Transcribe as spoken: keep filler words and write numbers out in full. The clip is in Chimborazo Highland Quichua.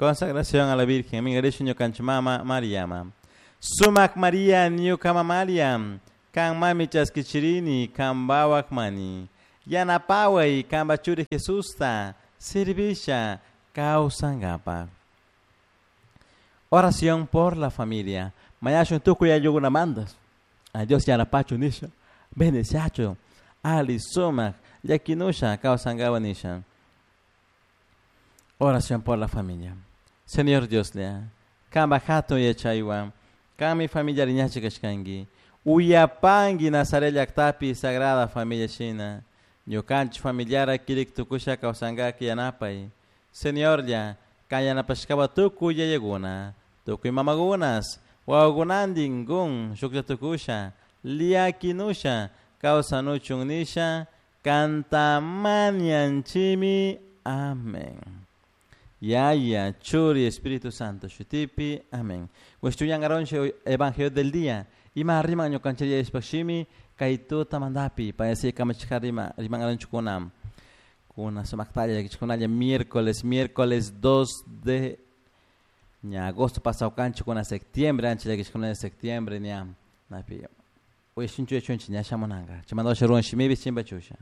Consagración a la Virgen, Mingarishu ñukanchik mama Mariama. Sumak Maria ñuka Maria, kan mami chaskichirini, kan bawak mani. Yanapaway kanpa churi Jesusta, servisha kawsankapak. Oración por la familia. Mañashun tukuy ayllukunamantas. A Dios yanapachu nisha. Bendeciachu. Ali sumak llakinusha kawsankawa nisha. Oración por la familia. Señor Dios lea. Kanpa hatun yachaywan. Kanmi familia riñachi kashkanki. Uyapanki Nazaret llaktapi Sagrada Familia shina. Ñukanchik familiara kirik tukusha kawsankaki yanapay. Señorlla, kan yanapashkawa tukuy yayakuna, tukuy mamakunas, wawakunantin kun shuklla tukusha, llakinusha kawsanuchun nisha, kantamanianchimi. Amén. Yaya, Churi, Espíritu Santo, shutipi. Amén. Estudiangaronche Evangelio del día. Ima riman ñukanchik ishpashimi kay tuta mandapi payasi kamachika rima rimangaronchukuna kuna sumaktalla llakichikunalla miércoles miércoles dos de ña agosto pasado kanchik kuna septiembre ancha llakichikunalla septiembre ña napi uyashunchu yachunchik ña shamunanka chaymanta ruwan shimipi chimpachusha.